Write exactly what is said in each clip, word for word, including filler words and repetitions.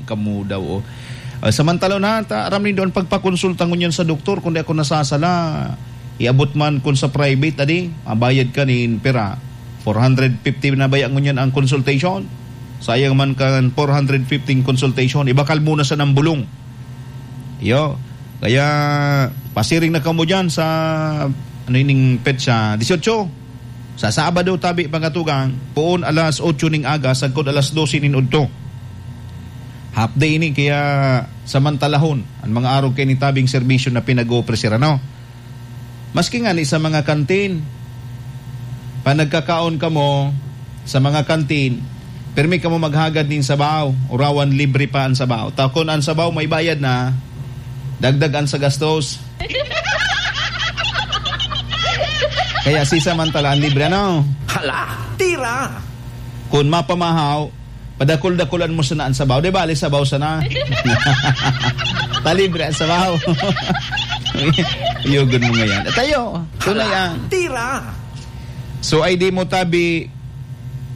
Kamo daw, oh. Ah, samantala na, ta, aram nindo an pagpakonsulta ngunyan sa doktor, kung di ako nasasala, iabot man kun sa private, adi, mabayad ka nin pera, four hundred fifty na baya ngunyan ang consultation. Sayang man kan four hundred fifty consultation, ibakal mo na sa nang bulong. Iyo. Kaya, pasiring na kamo diyan sa, ano ining petsa, dieciocho. Sa Sabado, tabi, mga tugang, poon alas otso ning aga, sagkod alas dose nin udto. Half day ini, kaya samantalahon an mga arog kaini tabing serbisyo na pinag-oofreser, ano? Maski ngani sa mga kantin, pa nagkakaon kamo sa mga kantin, pirmi kamo maghagad nin sabaw, urawan libre pa an sabaw. Ta kun an sabaw may bayad na, dagdag an sa gastos. Kaya sisamantala an libre, ano? Hala, tira! Kun mapamahaw, padakul-dakulan mo sana an sabaw. Di bale, sabaw sana. Ta libre an sabaw. Uyogon mo ngayon. At ayo, tunay ang Tira! So, I D mo tabi,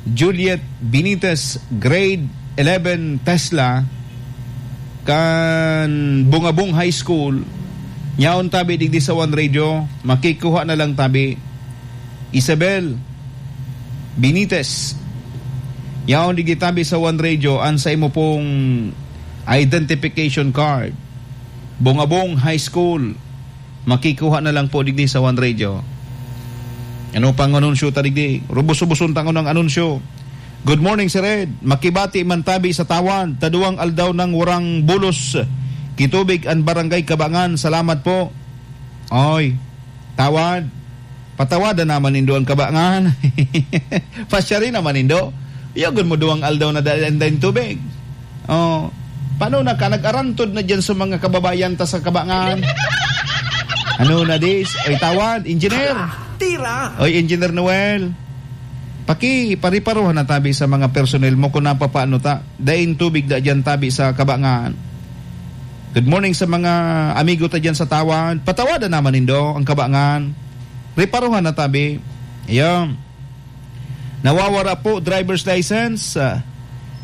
Juliet Benitez, grade eleven, Tesla, kan Bungabong High School. Nyaon tabi digdi sa One Radio, makikuha na lang tabi. Isabel Benitez, yaon digdi tabi sa One Radio, an sa imo pong identification card. Bungabong High School, makikuha na lang po digdi sa One Radio. Ano pang anunsyo ta digdi? Rubos-ruboson ta ngunang anunsyo. Good morning, Sir Ed. Makibati man tabi sa Tawad. Taduwang aldaw nang warang bulos. Kitubig an Barangay Kabangan. Salamat po. Oy, Tawad. Patawadan naman nindo ang Kabangan. Pasyari naman nindo. Yagon mo duwang aldaw na dai daing tubig. Oh, paano na ka? Nag-arantod na diyan sa mga kababayan ta sa Kabangan. Ano na dis? Oy, Tawad, engineer. Tira! Oy, Engineer Noel. Paki-, pariparohan na tabi sa mga personnel mo kung napapaano ta. Daing tubig da diyan tabi sa Kabangan. Good morning sa mga amigo ta diyan sa Tawad. Patawadan naman nindo ang Kabangan. Riparohan na tabi. Ayan. Nawawara po driver's license, ah,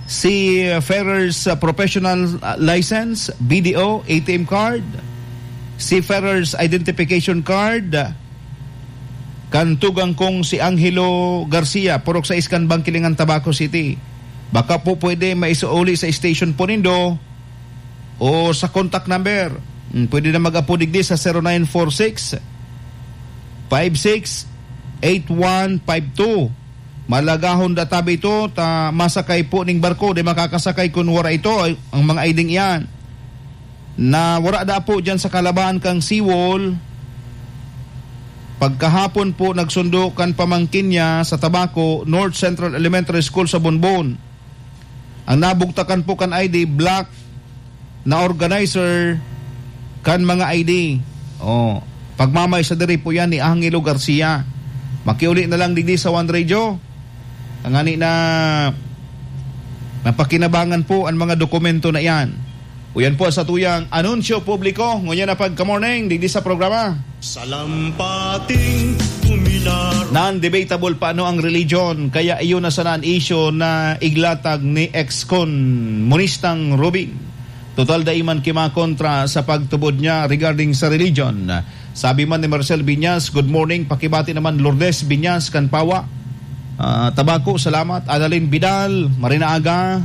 si Ferrer's, ah, professional, ah, license, B D O, A T M card, si Ferrer's identification card, ah, kan tugang kong si Angelo Garcia, purok sa Iskan, Bangkilingan, Tabaco City. Baka po pwede maisauli sa station po nindo o sa contact number. Hmm, pwede na mag-apo digdi sa zero nine four six, five six, eight one five two. Malagahon da tabi ito, ta masakay po ning barko, di makakasakay kun wara ito, ay, ang mga I D iyan. Na wara da po diyan sa kalabahan kang seawall. Pagkahapon po, nagsundo kan pamangkin niya sa Tabaco, North Central Elementary School sa Bonbon. Ang nabugtakan po kan I D, black na organizer kan mga I D. Oh, pagmamay sa diri po yan ni Angelo Garcia. Makiuli na lang digdi sa One Radio. Tangani na mapakinabangan po ang mga dokumento na iyan. Uyan po sa tuyang anunsyo publiko. Ngunyan na pagka-morning, digdi sa programa. Salampating kuminar. Non-debatable pa ano ang religion, kaya iyon na sana an isyu na iglatag ni ex-komunistang Robin. Total, dai man kimakontra sa pagtubod niya regarding sa religion. Sabi man ni Marcel Binyas, "Good morning, pakibati naman Lourdes Binyas kan Pawa." Ah, Tabaco, salamat. Annalyn Vidal, Marina Aga,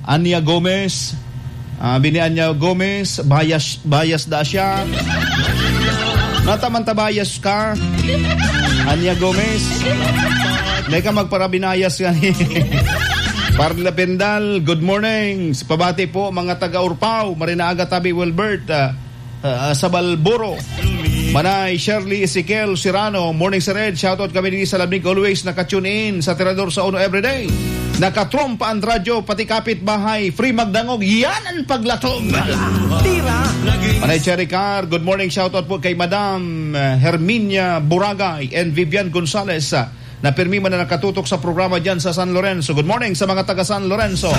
Ania Gomez, ah, bini Ania Gomez, bias, bias da siya. Nataman ta bias ka, Ania Gomez. Dai ka magparabinayas ka ni Parla Bendal, good morning. Pabati po, mga taga Urpao, Marina Aga, Tabi Wilbert, ah, ah, sa Balburo. Manay Shirley Ezekiel Serrano, morning, Sir Ed. Shoutout kami dito sa Labnig, always naka-tune in sa Tirador sa Uno everyday. Nakatrompa ang radyo, pati kapitbahay. Free magdangog, yan ang paglatog. Tira! Manay Cherry Car, good morning. Shoutout po kay Madam, eh, Herminia Buragay and Vivian Gonzalez, ah, na pirmi man na nakatutok sa programa dyan sa San Lorenzo. Good morning sa mga taga San Lorenzo.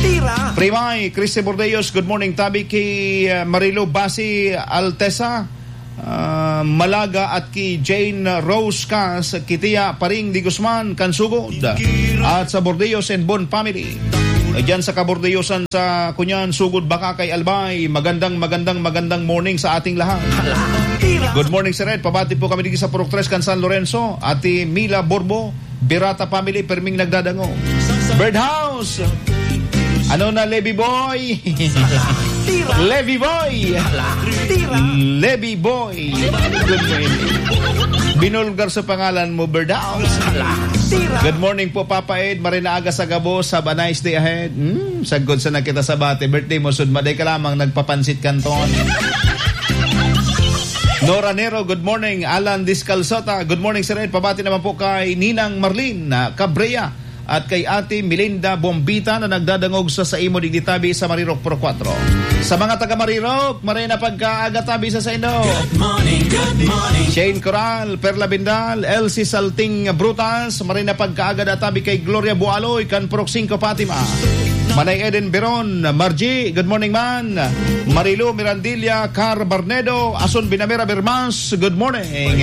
Tira! Primay, Christy Bordeos, good morning. Tabi kay, uh, Marilo Basi Altesa, uh, Malaga at kay Jane Rose Cas, Kitia, Paring Di Guzman, Kansugod, at sa Bordeos and Bon family. Diyan sa Kabordeosan sa Cunian, Sugod Baka kay Albay. Magandang, magandang, magandang morning sa ating lahat. Good morning, Sir Ed. Pabati po kami dito sa Purok Tres kan San Lorenzo. Ate Mila Borbo, Birata family, perming nagdadangog. Birdhouse! Ano na, Levy Boy? Levy Boy! Levy Boy! Good morning. Binulgar sa pangalan mo, Birdhouse. Good morning po, Papa Ed. Maray na aga sa gabos. Have a nice day ahead. Hmm, sagkod sa nakita sa bati. Birthday mo, sudma. Day ka lamang nagpapansit kanton. Nora Nero, good morning. Alan Discalzota, good morning, Sir Ed. Pabati naman po kay Ninang Marlene, ah, Cabrera at kay Ate Melinda Bombita na nagdadangog sa saimo digdi tabi sa Marirok Pro Cuatro. Sa mga taga Marirok, maray na pagkaaga tabi sa saindo. Good morning, good morning. Shane Coral, Perla Bindal, Elsie Salting Brutas, maray na pagkaaga da tabi kay Gloria Bualoy, kan Purok Singko Fatima. Manay Eden Beron, Margie, good morning man. Marilo Mirandilla, Car Barnedo, Ason Binamera Bermas, good morning.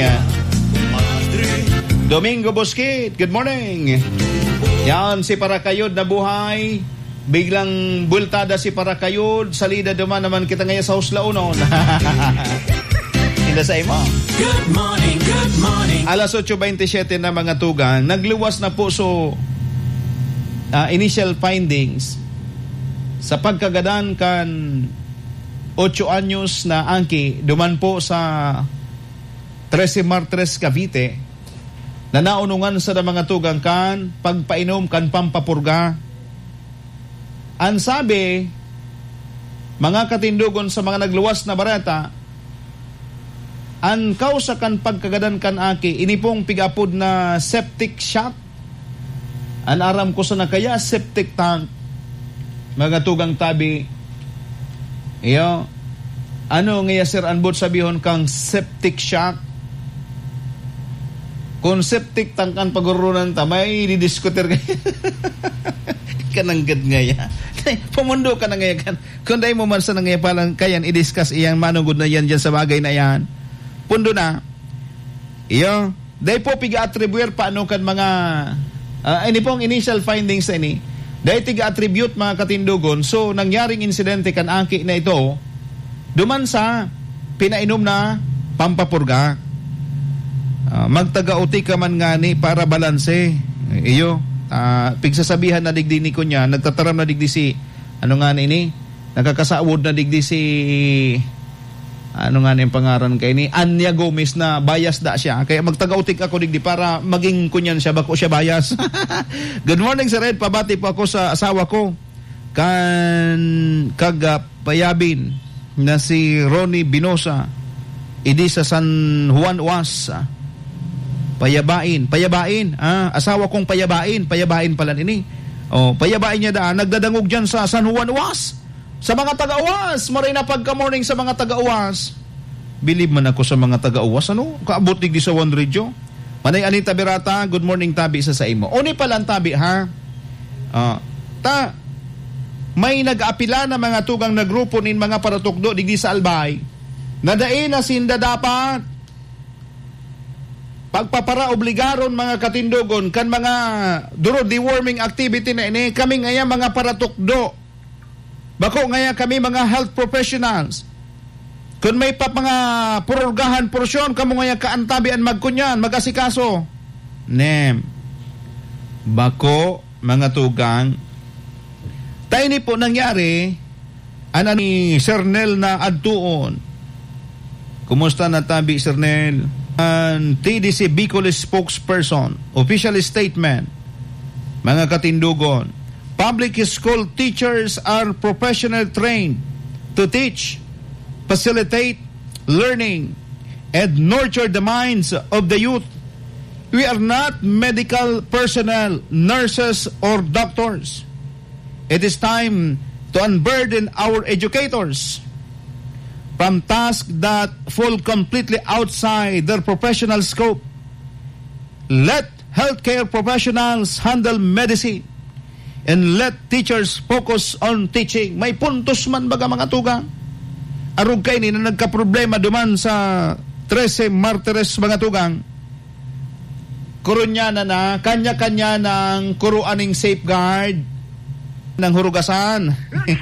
Domingo Bosquit, good morning. Yan, si Parakayod na buhay. Biglang bultada si Parakayod, salida duman naman kita ngayon sa Huslaonon. Inda sa imo. Good morning, good morning. Alas otso bentisiete na, mga tugang, nagluwas na po. So, ah, initial findings sa pagkagadan kan otso anyos na angki duman po sa Trece Martres, Cavite, na naunungan sa mga tugang kan pagpainom kan pampapurga. An sabi, mga katindogon, sa mga nagluwas na bareta, an kausa kan pagkagadan kan aki, ini pong pig-apod na septic shock. An aram ko sana kaya septic tank, mga tugang tabi. Iyo. Ano ngaya, sir, an boot sabihon kang septic shock? Kung septic tank an pagoronan ta, may didiskutir kaya. Kananggad ngaya. Pumundo ka na ngaya kan. Kung dai mo man sana ngaya palan kayan i-discuss iyang manugod na yan dyan sa bagay na yan. Pundo na. Iyo. Dai po piga-attribuir pa ano kan mga, ah, ini pong initial findings na ini. Dai tiga-attribute, mga katindogon. So, nangyaring insidente kan aki na ito, duman sa pinainom na pampapurga. Ah, magtaga-uti ka man ngani para balanse. Iyo, ah, pigsasabihan na digdi ni kunya, nagtataram na digdi si, ano nga na ini? Nakakasawod na digdi si, ano nga na yung pangaran kay ni Anya Gomez, na bias da siya. Kaya magtaga-utik ako digdi para maging kunyan siya, bako siya bias. Good morning, Sir Ed. Pabati po ako sa asawa ko. Kan kagapayabin na si Ronnie Binosa, idi sa San Juan Uas. Payabain. Payabain. Ah, asawa kong Payabain. Payabain pala ini. Oh, Payabain niya daan. Nagdadangog dyan sa San Juan Uas. Sa mga taga-Uas, maray na pagka-morning sa mga taga-Uas. Bilib man ako sa mga taga-Uas, ano? Kaabot digdi sa One Radio. Manay Anita Berata, good morning, tabi sa saimo. Uni pala ang tabi, ha? Ah, ta, may nag-apila na mga tugang na grupo nin mga paratukdo digdi sa Albay na dai na sinda dapat pagpaparaobligaron, mga katindogon, kan mga duro deworming activity na ini. Kami ngaya mga paratukdo. Bako ngaya kami mga health professionals. Kun may pa mga pururgahan porsyon, kamo ngaya kaantabi an magkunyan, mag-asikaso. Nem. Bako, mga tugang. Ta ini po nangyari, an ni Sir Nel na adtuon. Kumusta na tabi, Sir Nel? An T D C Bicol spokesperson, official statement, mga katindogon. Public school teachers are professional trained to teach, facilitate learning, and nurture the minds of the youth. We are not medical personnel, nurses, or doctors. It is time to unburden our educators from tasks that fall completely outside their professional scope. Let healthcare professionals handle medicine and let teachers focus on teaching. May puntos man, baga, mga tugang. Arog kaini na nagkaproblema duman sa Trece Martires, mga tugang. Kurunyanan na, kanya-kanya nang kuruan ning safeguard. Nang hurugasan.